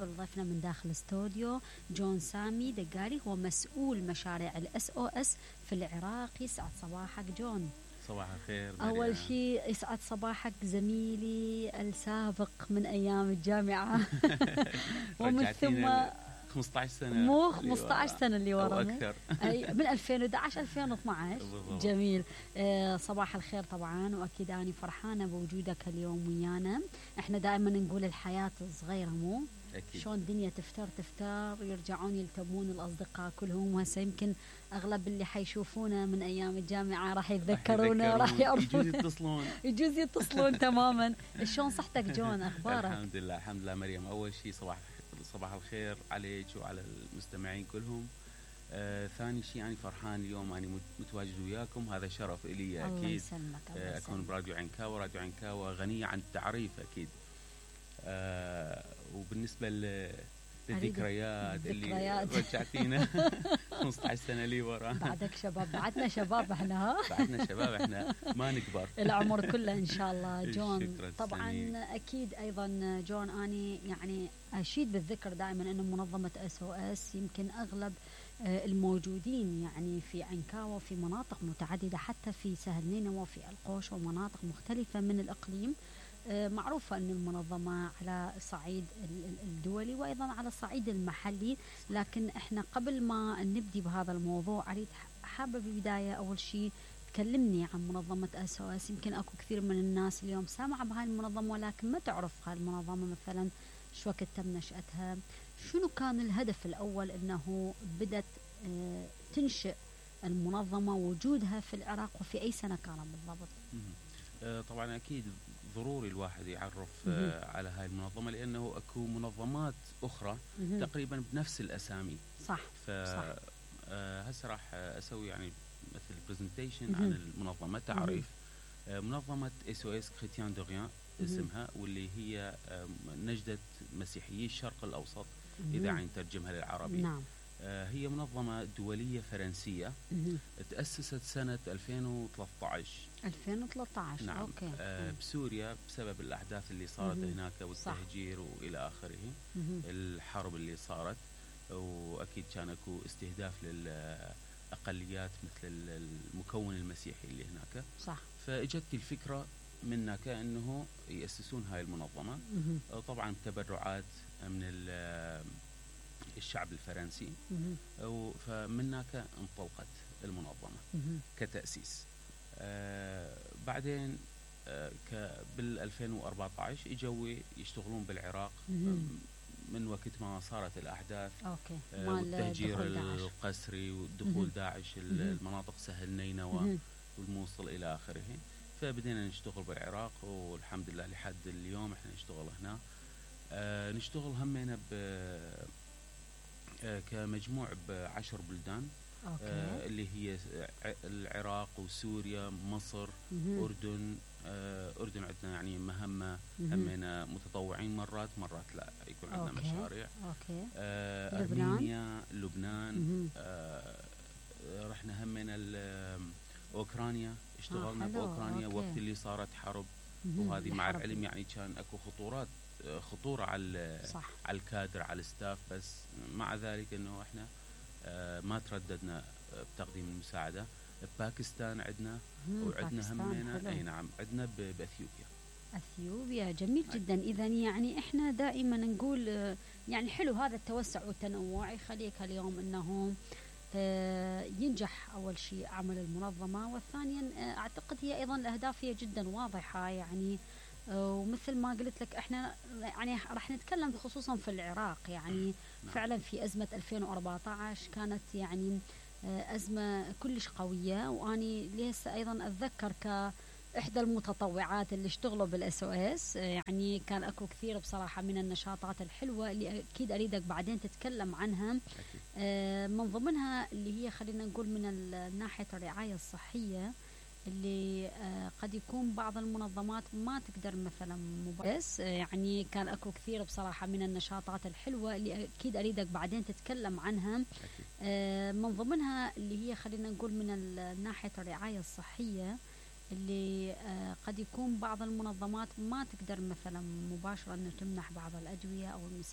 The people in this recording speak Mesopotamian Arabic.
نرحب بضيفنا من داخل الاستوديو جون سامي دقاري، هو مسؤول مشاريع SOS في العراق. يسعد صباحك جون. صباح الخير. أول شيء يسعد صباحك زميلي السابق من أيام الجامعة ومن ثم 15 سنة، مو 15 سنة اللي ورا أكثر. أي من 2011 2012. جميل. صباح الخير طبعا، وأكيد أنا فرحانة بوجودك اليوم ويانا. احنا دائما نقول الحياة صغيرة، مو أكيد. شلون الدنيا تفتر يرجعون يلتمون الأصدقاء كلهم. وهسه يمكن أغلب اللي حيشوفونا من أيام الجامعة راح يتذكرونا، راح يعرفون، يجوز يتصلون تماما. شلون صحتك جون؟ أخبارك؟ الحمد لله الحمد لله مريم. أول شيء صباح الخير عليك وعلى المستمعين كلهم. ثاني شيء أنا فرحان اليوم أنا متواجد وياكم، هذا شرف إلي أكيد. الله يسلمك. أكون براديو عنكاوة. راديو عنكاوة غنية عن التعريف أكيد. وبالنسبة للذكريات اللي رجعتينا 15 سنة لي ورا. بعدك شباب، بعدنا شباب احنا. بعدنا شباب احنا، ما نكبر العمر كله ان شاء الله. جون طبعا سمير. اكيد ايضا جون اني يعني اشيد بالذكر دائما انه منظمة SOS يمكن اغلب الموجودين يعني في عنكاوة وفي مناطق متعددة، حتى في سهل نينوى وفي القوش ومناطق مختلفة من الإقليم. معروفة أن المنظمة على الصعيد الدولي وأيضا على الصعيد المحلي. لكن إحنا قبل ما نبدي بهذا الموضوع أريد حابة بالبداية أول شيء تكلمني عن منظمة SOS. يمكن أكو كثير من الناس اليوم سامعة بهاي المنظمة ولكن ما تعرف هاي المنظمة، مثلا شو وقت تم نشأتها، شنو كان الهدف الأول أنه بدت تنشئ المنظمة، وجودها في العراق، وفي أي سنة كان بالضبط؟ طبعا أكيد ضروري الواحد يعرف على هاي المنظمة، لأنه أكو منظمات أخرى تقريبا بنفس الأسامي. صح. هسه راح أسوي يعني مثل برزنتيشن عن المنظمة، تعريف. منظمة SOS Chrétien de Rien اسمها، واللي هي نجدة مسيحيي الشرق الأوسط إذا عين ترجمها للعربي. نعم. هي منظمة دولية فرنسية تأسست سنة 2013. 2013. نعم. أوكي. بسوريا بسبب الأحداث اللي صارت هناك والتهجير وإلى آخره، الحرب اللي صارت، وأكيد كان أكو استهداف للأقليات مثل المكون المسيحي اللي هناك. صح. فإجت الفكرة منك أنه يأسسون هاي المنظمة، طبعا تبرعات من الشعب الفرنسي، فمنك انطلقت المنظمة كتأسيس. بعدين بال 2014 اجوا يشتغلون بالعراق من وقت ما صارت الأحداث. والتهجير القسري ودخول داعش المناطق سهل نينوى والموصل إلى آخره. فبدينا نشتغل بالعراق والحمد لله لحد اليوم احنا نشتغل هنا. نشتغل همينا كمجموع ب10 بلدان. اللي هي العراق وسوريا مصر أردن. أردن عندنا يعني مهمة همينا متطوعين، مرات لا يكون عندنا مشاريع. أرمينيا، لبنان. رحنا همينا أوكرانيا، اشتغلنا بأوكرانيا وقت اللي صارت حرب، وهذه مع العلم يعني كان أكو خطورة على الكادر على الستاف، بس مع ذلك انه احنا ما ترددنا بتقديم المساعدة. باكستان عندنا، وعندنا همينا اي نعم عندنا بأثيوبيا. جميل جدا. اذا يعني احنا دائما نقول يعني حلو هذا التوسع والتنوع يخليك اليوم انه ينجح أول شيء عمل المنظمة، والثانيا أعتقد هي أيضا الأهداف هي جدا واضحة يعني. ومثل ما قلت لك احنا يعني راح نتكلم خصوصا في العراق يعني. فعلا في أزمة 2014 كانت يعني أزمة كلش قوية، وأني لسه أيضا أتذكر كإحدى المتطوعات اللي اشتغلوا بالSOS يعني. كان أكو كثير بصراحة من النشاطات الحلوة اللي أكيد أريدك بعدين تتكلم عنها. من ضمنها اللي هي خلينا نقول من ناحية الرعاية الصحية، اللي قد يكون بعض المنظمات ما تقدر مثلا بس يعني. كان أكو كثير بصراحة من النشاطات الحلوة اللي أكيد أريدك بعدين تتكلم عنها. من ضمنها اللي هي خلينا نقول من ناحية الرعاية الصحية، اللي قد يكون بعض المنظمات ما تقدر مثلا مباشرة أن تمنح بعض الأدوية أو المساعدة.